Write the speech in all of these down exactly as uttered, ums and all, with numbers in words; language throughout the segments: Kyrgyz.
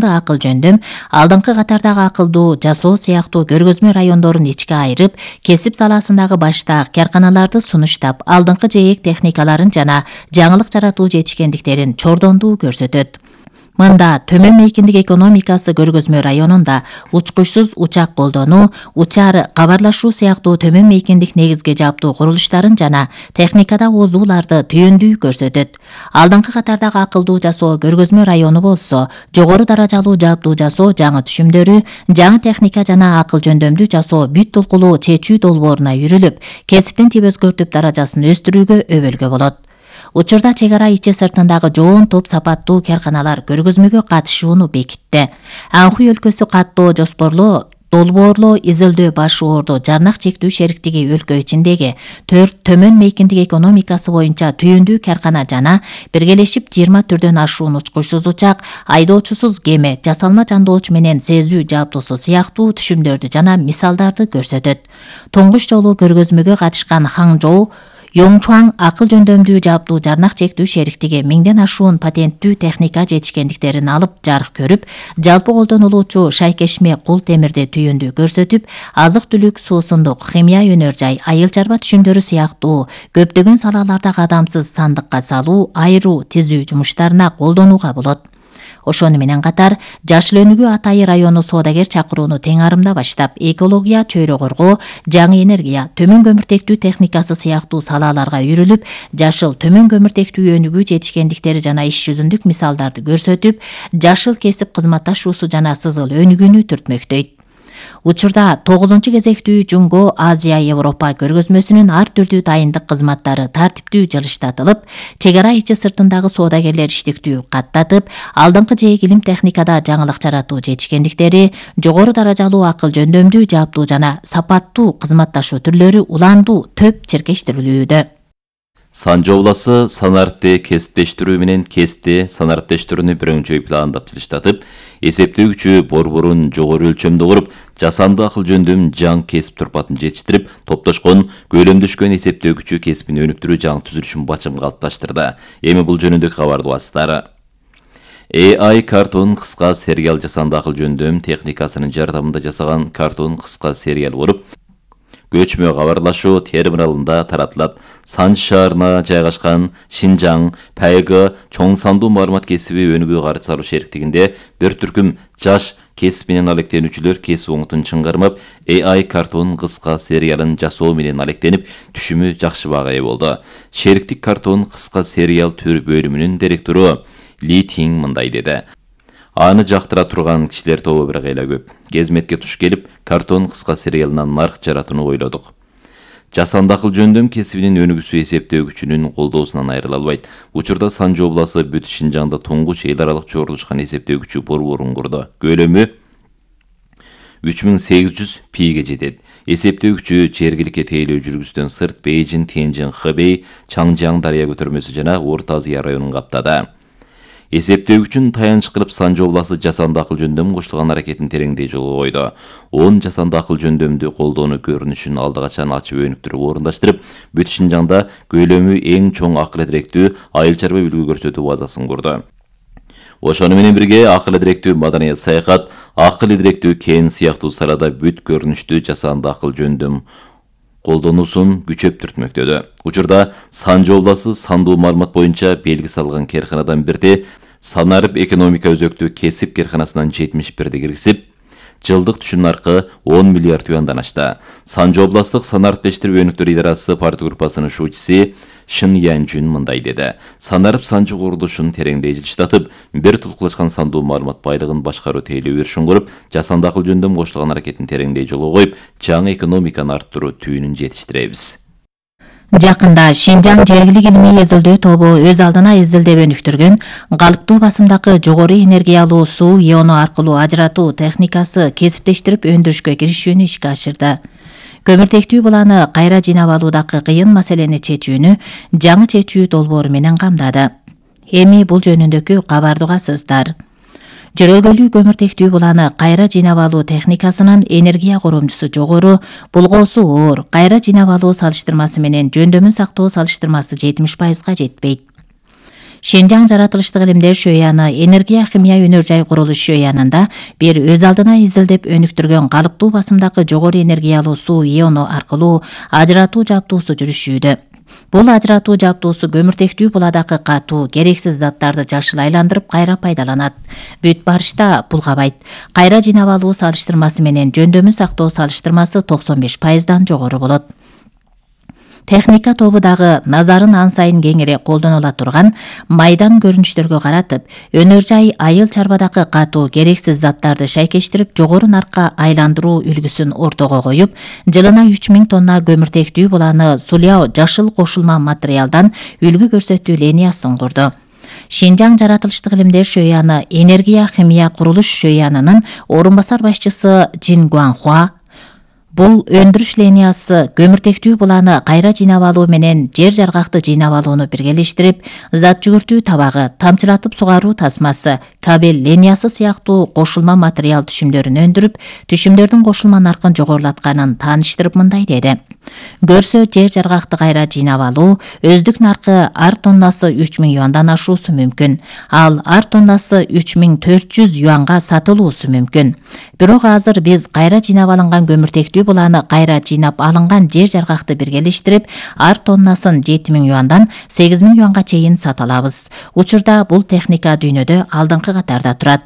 акыл жөндөм, алдыңкы катардагы акылдуу жасоо сыяктуу көргөзмө райондорун ичке айырып, кесип саласындагы баштаак карканаларды сунуштап, алдыңкы жээк техникаларын жана жаңылык жаратуу жетишкендиктерин чордондуу көрсөтөт. Мында төмөн мейкиндик экономикасы көргөзмө районунда учкучсуз учак колдонуу, учар кабарлашуу сыяктуу төмөн мейкиндик негизги жаптуу курулуштарын жана техникада озууларды түйүндүү көрсөтөт. Алдыңкы катардагы акылдуу жасоо көргөзмө району болсо, жогору даражалуу жаптуу жасоо жаңы түшүмдөрү, жаңы техника жана акыл жөндөмдүү жасоо бүт толкулуу чечүү долбооруна үйрүлүп, кесиптин тип өзгөртүп даражасын өстүрүүгө өбөлгө болот. Учурда чек ара ичи сыртындагы жоон топ сапаттуу карканалар көргөзмөгө катышууну бекитти. Анхуй өлкөсү каттоо жоспорлоо, долбоорлоо, изилдөө баш оорду Жарнак чектүү шериктиги өлкө ичиндеги төрт төмөн мейкиндик экономикасы боюнча түйүндүү каркана жана биргелешип жыйырма түрдөн ашуун учкучсуз учак, айдоочусуз кеме, жасалма жандооч менен сезүү жаптуусу сыяктуу түшүмдөрдү жана мисалдарды көрсөтөт. Туңгуч жолу көргөзмөгө катышкан Хаңжоу Йоңчуаң акыл жөндөмдүү жаптуу Жарнак чектүү шериктиги миңден ашуун патенттүү техника жетишкендиктерин алып жарык көрүп, жалпы колдонулуучу шайкешме кул темирди түйүндүү көрсөтүп, азык-түлүк, суусундук, химия өнөр жай, айыл чарба түшүмдөрү сыяктуу көптөгөн салаларда кадамсыз сандыкка салуу, айыруу, тизүү жумуштарына колдонууга болот. Ошону менен катар, Жашыл Өнүгүү Атайы району соодагер чакырууну тең арымда баштап, экология, чөйрө коргоо, жаңы энергия, төмөн көмүртектүү техникасы сыяктуу салаларга үйрүлүп, жашыл төмөн көмүртектүү өнүгүү жетишкендиктери жана иш жүзүндүк мисалдарды көрсөтүп, жашыл кесип кызматташуусу жана сызыл өнүгүүнү түртмөктөйт. Учурда тогузунчу кезектүү Жунго Азия Европа көргөзмөсүнүн ар түрдүү дайындык кызматтары тартиптүү жылыштатылып, чек ара ичи сыртындагы соодагерлер иштиктүү каттатып, алдыңкы жээк илим техникада жаңылык жаратуу жетишкендиктери, жогору даражалуу акыл жөндөмдүү жаптуу жана сапаттуу кызматташуу түрлөрү уландуу төп чиркештирилүүдө. Санжы обласы санарпты кесиптештирүү менен кести санарптештирүүнү бирөңчөй пландап жылыштатып, эсептөө күчү борборун жогору өлчөмдө куруп, жасанды акыл жөндөм жаңы кесип турпатын жетиштирип, топтошкон көлөмдөшкөн эсептөө күчү кесипин өнүктүрүү жаңы түзүлүшүн бачым калыпташтырды. Эми бул жөнүндө кабарды басылары. эй ай картон кыска сериал жасанды акыл жөндөм техникасынын жардамында жасаган картон кыска сериал болуп, көчмө кабарлашуу терминалында таратылат. Санжы шаарына жайгашкан Шинжаң Пайгы чоң сандуу маалымат кесиби өнүгүү каржы салуу шериктигинде бир түркүм жаш кесип менен алектенүүчүлөр кесип оңутун чыңгармап, эй ай картон кыска сериалын жасоо менен алектенип, түшүмү жакшы баага ээ болду. Шериктик картон кыска сериал төр бөлүмүнүн директору Ли Тинг мындай деди. Аны жактыра турган кишилер тобу бир кыйла көп. Кезметке туш келип, картон кыска сериалынан нарк жаратууну ойлодук. Жасанды акыл жөндөм кесибинин өнүгүүсү эсептөө күчүнүн колдоосунан айрыла албайт. Учурда Санжы обласы бүт Шинжаңда туңгуч эл аралык чогулушкан эсептөө күчү борборун курду. Көлөмү үч миң сегиз жүз пиге жетет. Эсептөө күчү жергиликке тейлөө жүргүздөн сырт Бейжин, Тяньжин, Хэбэй, Чаңжаң дарыя көтөрмөсү жана Орто Азия районун каптады. Эсептөө үчүн таянч кылып Санжы обласы жасанды акыл жөндөм коштулган аракетин тереңдей жолго койду. Он жасанды акыл жөндөмдү колдоону көрүнүшүн алды качан ачып өнүктүрүп орундаштырып, бүт Шинжаңда көлөмү эң чоң акыл директүү айыл чарба үлгү көрсөтүү базасын курду. Ошону менен бирге акыл директүү маданият саякат, акыл директүү кен сыяктуу салада бүт көрүнүштүү жасанды акыл жөндөм колдонуусун күчөп түртмөктөдү. Учурда Санжы обласы сандуу маалымат боюнча белги салган керканадан бирди санарып экономика өзөктүү кесип керканасынан жетимиш бирди киргизип, жылдык түшүм наркы он миллиард юандан ашты. Санжы областык санарптештирүү өнүктүрүү идарасы партия группасынын шуучусу Шын Янжүн мындай деди. Санарып Санжы курулушун тереңдей жылыштатып, бир тулкулашкан сандуу маалымат байлыгын башкаруу тейлөө өрүшүн куруп, жасанды акыл жөндөм коштулган аракетин тереңдей жолго коюп, жаңы экономиканы арттыруу түйүнүн жетиштиребиз. Жакында Шинжаң жергилик илимий изилдөө тобу өз алдына изилдеп өнүктүргөн калыптуу басымдагы жогору энергиялуу суу иону аркылуу ажыратуу техникасы кесиптештирип өндүрүшкө киришүүнү ишке ашырды. Көмүртектүү буланы кайра жыйнап алуудагы кыйын маселени чечүүнү жаңы чечүү долбоору менен камдады. Эми бул жөнүндөгү кабарды угасыздар. Жөрөлгөлүү көмүртектүү буланы кайра жыйнап алуу техникасынын энергия коромчусу жогору, булгоосу оор, кайра жыйнап алуу салыштырмасы менен жөндөмүн сактоо салыштырмасы жетимиш пайызга жетпейт. Шинжаң жаратылыштык илимдер шөйяны энергия химия өнөр жай курулуш шөйянында бир өз алдына изилдеп өнүктүргөн калыптуу басымдагы жогору энергиялуу суу иону аркылуу ажыратуу жабдуусу жүрүшүүдө. Бул ажыратуу жабдуусу көмүртектүү буладагы катуу, керексиз заттарды жашыл айландырып кайра пайдаланат. Бүт барышта булгабайт. Кайра жыйнап алуу салыштырмасы менен жөндөмү сактоо салыштырмасы токсон беш пайыздан жогору болот. Техника тобу дагы назарын ан сайын кеңирээк колдонула турган майдан көрүнүштөргө каратып, өнөр жай айыл чарбадагы катуу, керексиз заттарды шайкештирип, жогору наркка айландыруу үлгүсүн ортого коюп, жылына үч миң тонна көмүртектүү буланы суляо жашыл кошулма материалдан үлгү көрсөтүү линиясын курду. Шинжаң жаратылыштык илимдер шөйяны энергия химия курулуш шөйянынын орун басар башчысы Жин Гуанхуа бул өндүрүш линиясы көмүртектүү буланы кайра жыйнап алуу менен жер жаргакты жыйнап алууну биргелештирип, зат жүгүртүү табагы, тамчылатып сугаруу тасмасы, кабель линиясы сыяктуу кошулма материал түшүмдөрүн өндүрүп, түшүмдөрдүн кошулма наркын жогорулатканын тааныштырып мындай деди. Көрсө жер жаргакты кайра жыйнап алуу өздүк наркы ар тоннасы үч миң юандан ашуусу мүмкүн. Ал ар тоннасы үч миң төрт жүз юанга сатылуусу мүмкүн. Бирок азыр биз кайра жыйнап алынган көмүртектүү буланы кайра жыйнап алынган жер жаргакты биргелештирип, ар тоннасын жети миң юандан сегиз миң юанга чейин сата алабыз. Учурда бул техника дүйнөдө алдыңкы катарда турат.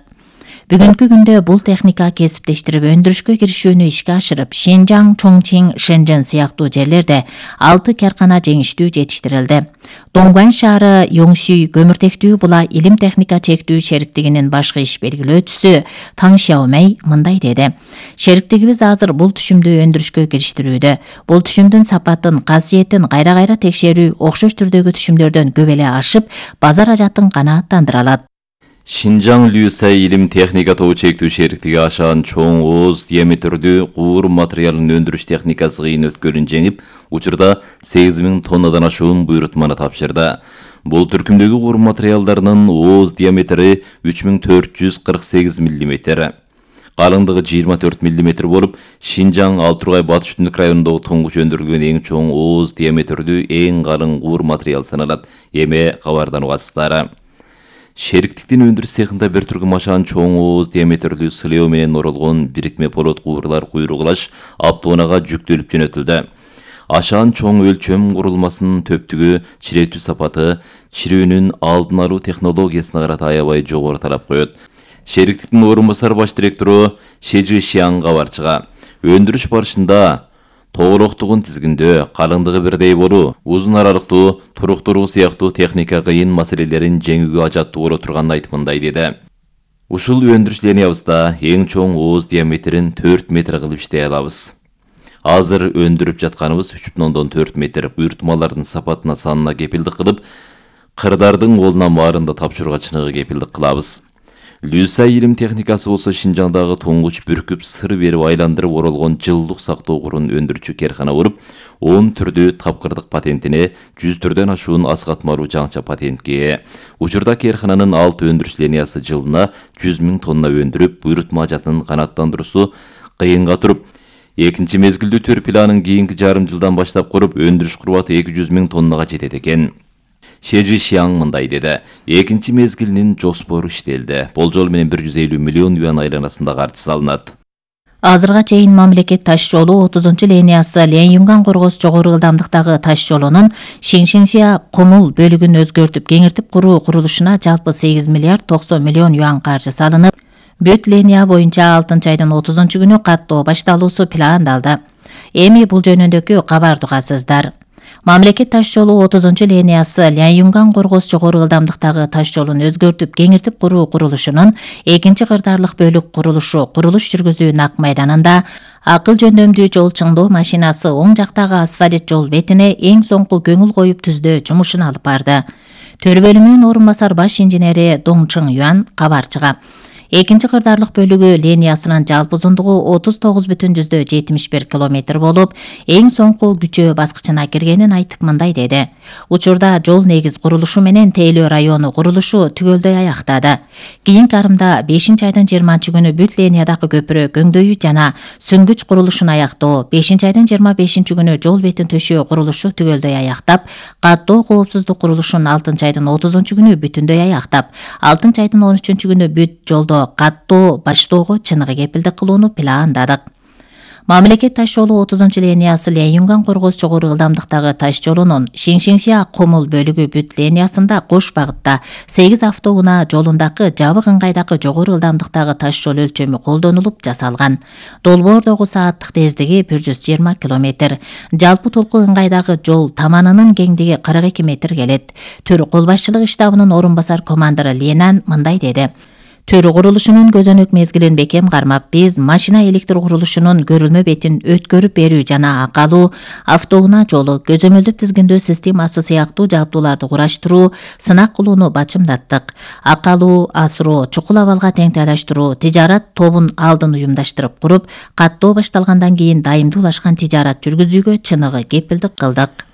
Бүгүнкү күндө бул техника кесиптештирип өндүрүшкө киришүүнү ишке ашырып, Шинжаң, Чоңчиң, Шэньчжэн сыяктуу жерлерде алты каркана жеңиштүү жетиштирилди. Донгуан шаары Йоңсүй көмүртектүү була илим техника чектүү шериктигинин башкы иш белгилөөчүсү Таң Шяомей мындай деди. Шериктигибиз азыр бул түшүмдү өндүрүшкө кириштирүүдө. Бул түшүмдүн сапатын, касиетин кайра-кайра текшерүү окшош түрдөгү түшүмдөрдөн көп эле ашып, базар ажатын канааттандыра алат. Шинжаң Люсай илим техника тобу чектүү шериктиги ашаан чоң ооз диаметрдүү куур материалын өндүрүш техникасы кыйын өткөлүн жеңип, учурда сегиз миң тоннадан ашуун буйрутманы тапшырды. Бул түркүмдөгү куур материалдарынын ооз диаметри үч миң төрт жүз кырк сегиз миллиметр. Калыңдыгы жыйырма төрт миллиметр болуп, Шинжаң Алтургай Батыш Түндүк районундагы туңгуч өндүрүлгөн эң чоң ооз диаметрдүү эң калың куур материал саналат. Эме кабардан угасыздар. Шериктиктин өндүрүш цехинда бир түркүм ашаан чоң ооз диаметрлүү сылео менен оролгон бирикме полот куурлар куйругулаш автоунаага жүктөлүп жөнөтүлдү. Ашаан чоң өлчөм курулмасынын төптүгү, чиретүү сапаты, чирөөнүн алдын алуу технологиясына карата аябай жогору талап коет. Шериктиктин орун басар баш директору Шежи Шиаң кабарчыга өндүрүш барышында тоголоктугун тизгиндөө, калыңдыгы бирдей болуу, узун аралыктуу, туруктуруу сыяктуу техника кыйын маселелерин жеңүүгө ажаттуу боло турганын айтып мындай деди. Ушул өндүрүш линиябызда эң чоң ооз диаметрин төрт метр кылып иштей алабыз. Азыр өндүрүп жатканыбыз үч бүтүн ондон төрт метр буйртмалардын сапатына санына кепилдик кылып, кырдардын колуна баарында тапшырууга чыныгы кепилдик кылабыз. Люсай илим техникасы болсо Шинжаңдагы туңгуч бүркүп сыр берип айландырып оролгон жылдык сактоо курун өндүрүүчү керкана болуп, он түрдүү тапкырдык патентине, жүз түрдөн ашуун аскатмалуу жаңча патентке ээ. Учурда керкананын алты өндүрүш линиясы жылына жүз миң тонна өндүрүп, буйрутма ажатын канааттандыруусу кыйынга туруп, экинчи мезгилдүү төр планын кийинки жарым жылдан баштап куруп, өндүрүш курбаты эки жүз миң тоннага жетет экен. Шежи Шиаң мындай деди. Экинчи мезгилинин жоспору иштелди. Болжол менен бир жүз элүү миллион юан айланасында каржы салынат. Азырга чейин мамлекет таш жолу отузунчу линиясы Ленюнган Коргоз жогору ылдамдыктагы таш жолунун Шиншиншия Комул бөлүгүн өзгөртүп кеңиртип куруу курулушуна жалпы сегиз миллиард токсон миллион юан каржы салынып, бүт линия боюнча алтынчы айдын отузунчу күнү каттоо башталуусу пландалды. Эми бул жөнүндөгү кабарды угасыздар. Мамлекет таш жолу отузунчу линиясы Ленюнган Коргоз жогору ылдамдыктагы таш жолун өзгөртүп кеңиртип куруу курулушунун экинчи кырдаарлык бөлүк курулушу курулуш жүргүзүү нак майданында акыл жөндөмдүү жол чыңдоо машинасы оң жактагы асфальт жол бетине эң соңку көңүл коюп түздөө жумушун алып барды. Төр бөлүмүнүн орун басар баш инженери Доңчың Юан кабарчыга Экинчи кырдаарлык бөлүгү линиясынын жалпы узундугу отуз тогуз бүтүн жүздө жетимиш бир километр болуп, эң соңку күчөө баскычына киргенин айтып мындай деди. Учурда жол негиз курулушу менен Тейлөө району курулушу түгөлдөй аяктады. Кийинки арымда бешинчи айдын жыйырманчы күнү бүт линиядагы көпүрө көңдөйү жана сүңгүч курулушун аяктоо, бешинчи айдын жыйырма бешинчи күнү жол бетин төшөө курулушу түгөлдөй аяктап, каттоо коопсуздук курулушун алтынчы айдын отузунчу күнү бүтүндөй аяктап, алтынчы айдын он үчүнчү күнү бүт жолдо каттоо баштоого чыныгы кепилдик кылууну пландадык. Мамлекет таш жолу отузунчу линиясы Лэйюнган Коргоз жогору ылдамдыктагы таш жолунун Шиңшиңши Комул бөлүгү бүт линиясында кош багытта сегиз автоунаа жолундагы жабык ыңгайдагы жогору ылдамдыктагы таш жол өлчөмү колдонулуп жасалган. Долбоордогу сааттык тездиги бир жүз жыйырма километр. Жалпы толку ыңгайдагы жол таманынын кеңдиги кырк эки метр келет. Төр кол башчылык штабынын орун басар командиры Ленан мындай деди. Төр курулушунун көзөнөк мезгилин бекем кармап, биз машина электр курулушунун көрүлмө бетин өткөрүп берүү жана акалуу, автоунаа жолу, көзөмөлдөп тизгиндөө системасы сыяктуу жабдууларды кураштыруу, сынак кылууну бачымдаттык. Акалуу, асыроо, чукул абалга теңтайлаштыруу, тижарат тобун алдын уюмдаштырып куруп, каттоо башталгандан кийин дайымдуулашкан тижарат жүргүзүүгө чыныгы кепилдик кылдык.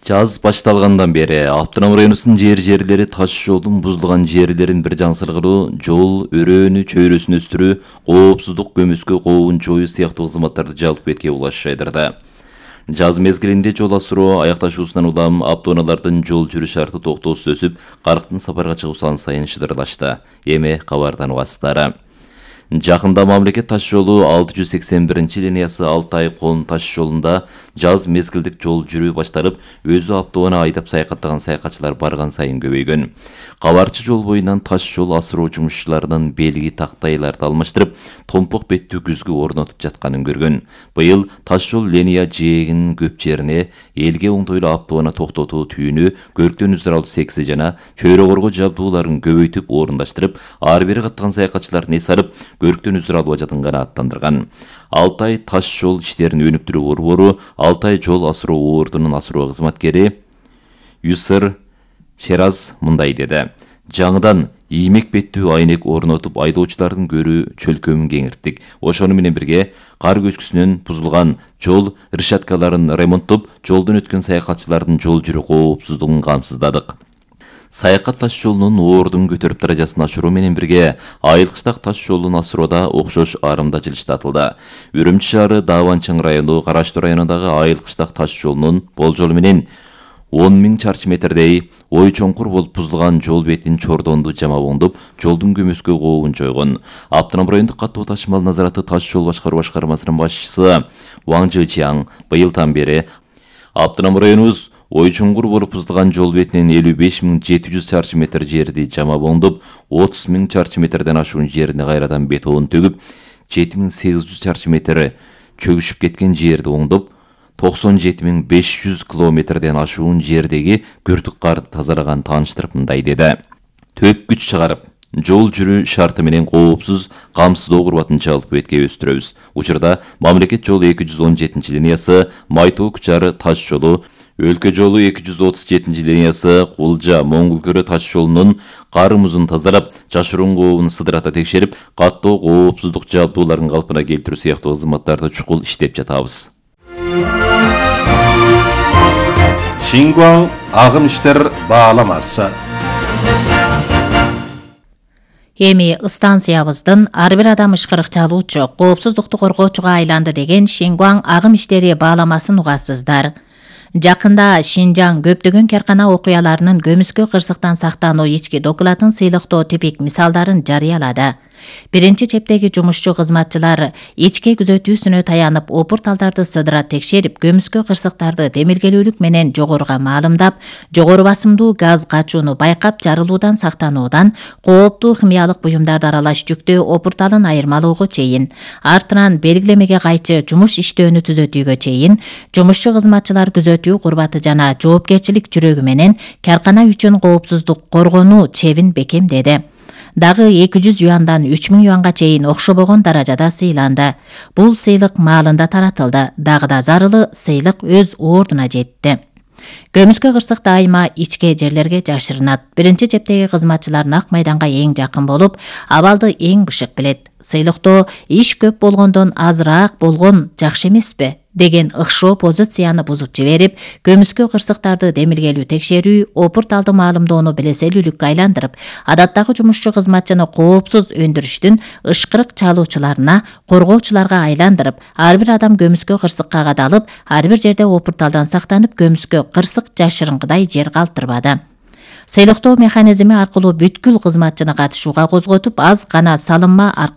Жаз башталгандан бери Аптанам районунун жер-жерлери таш жолдун бузулган жерлерин бир жаңсыргыруу, жол өрөөнү чөйрөсүн өстүрүү, коопсуздук көмүскө кообун жоюу сыяктуу кызматтарды жалпы бетке улаш жайдырды. Жаз мезгилинде жол асыроо аякташуусунан улам автоунаалардын жол жүрүү шарты токтоосуз өсүп, карктын сапарга чыгуу сан сайын шыдырлашты. Эми кабардан угасыздар. Жакында мамлекет таш жолу алты жүз сексен биринчи линиясы Алтай Кон таш жолунда жаз мезгилдик жол жүрүү башталып, өзү автоунаа айдап саякаттаган саякатчылар барган сайын көбөйгөн. Кабарчы жол боюнан таш жол асыроо жумушчуларынын белги тактайларды алмаштырып, томпок беттүү күзгү орнотуп жатканын көргөн. Быйыл таш жол линия жээгинин көп жерине элге оңтойлуу автоунаа токтотуу түйүнү, көрктөн үздөр алуу секси жана чөйрө коргоо жабдууларын көбөйтүп орундаштырып, ар бери каттаган саякатчылардын эс алып, көрктөн үздөр алуу ажатын гана аттандырган. Алтай таш жол иштерин өнүктүрүү борбору Алтай жол асыроо ордунун асыроо кызматкери Юсыр Шераз мындай деди. Жаңыдан иймек беттүү айнек орнотуп, айдоочулардын көрүү чөлкөмүн кеңирттик. Ошону менен бирге кар көчкүсүнөн бузулган жол решеткаларын ремонттоп, жолдон өткөн саякатчылардын жол жүрүү коопсуздугун камсыздадык. Саякат таш жолунун ордун көтөрүп даражасын ачыруу менен бирге Айылкыштак таш жолун асыроодо окшош арымдачылыш татылды. Үрүмчү шаары Дааванчың району Караштуу районундагы Айылкыштак таш жолунун болжолу менен он миң чарчы метрдей ой чоңкур болуп бузулган жол бетин чордонду жама оңдоп, жолдун көмөскө кообун жойгон. Аптанам райондук каттоо ташымал назараты таш жол башкаруу башкармасынын башчысы Ваң Жычиаң быйылдан бери Аптанам районубуз ой чоңкур болуп бузулган жол бетинен элүү беш миң жети жүз чарчы метр жерди жама оңдоп, отуз миң чарчы метрден ашуун жерине кайрадан бетон төгүп, жети миң сегиз жүз чарчы метр чөгүшүп кеткен жерди оңдоп, токсон жети миң беш жүз километрден ашуун жердеги күртүк карды тазалаган тааныштырып мындай деди. Төп күч чыгарып, жол жүрүү шарты менен коопсуз, камсыздоо курбатын жалпы бетке өстүрөбүз. Учурда мамлекет жолу эки жүз он жетинчи линиясы, Майтоо Кучары таш жолу, Өлкө жолу эки жүз отуз жетинчи линиясы, Кулжа Моңгулкөрө таш жолунун кары музун тазалап, жашыруун кообун сыдырата текшерип, каттоо коопсуздук жабдууларын калпына келтирүү сыяктуу кызматтарды чукул иштеп жатабыз. Шингуаң агым иштер бааламасы. Эми станциябыздын ар бир адам ышкырык чалуучу, коопсуздукту коргоочуга айланды деген Шингуаң агым иштери бааламасын угасыздар. Жакында Шинжаң көптөгөн каркана окуяларынын көмүскө кырсыктан сактануу ички докладын сыйлыктоо типик мисалдарын жарыялады. Биринчи чептеги жумушчу кызматчылар ичке күзөтүүсүнө таянып, опурталдарды сыдыра текшерип, көмүскө кырсыктарды демиргелүүлүк менен жогоруга маалымдап, жогору басымдуу газ качууну байкап, жарылуудан сактануудан, кооптуу химиялык буюмдарды аралаш жүктөө опурталын айырмалоого чейин, артынан белгилемеге кайчы жумуш иштөөнү түзөтүүгө чейин, жумушчу кызматчылар күзөтүү курбаты жана жоопкерчилик жүрөгү менен каркана үчүн коопсуздук коргонуу чебин бекемдеди. Дагы эки жүз юандан үч миң юанга чейин окшобогон даражада сыйланды. Бул сыйлык маалында таратылды. Дагы да зарылы сыйлык өз ордуна жетти. Көмүскө кырсык дайыма ичке жерлерге жашырынат. Биринчи чептеги кызматчылар нак майданга эң жакын болуп, абалды эң бышык билет. Сыйлыктоо иш көп болгондон азыраак болгон жакшы эмеспи деген ыкшоо позицияны бузуп жиберип, көмүскө кырсыктарды демилгелүү текшерүү, опурт алды маалымдоону белеселүүлүккө айландырып, адаттагы жумушчу кызматчыны коопсуз өндүрүштүн ышкырык чалуучуларына, коргоочуларга айландырып, ар бир адам көмүскө кырсыкка кадалып, ар бир жерде опурталдан сактанып, көмүскө кырсык жашырынгыдай жер калтырбады. Сыйлыктоо механизми аркылуу бүткүл кызматчыны катышууга козготуп, аз гана салынма аркылуу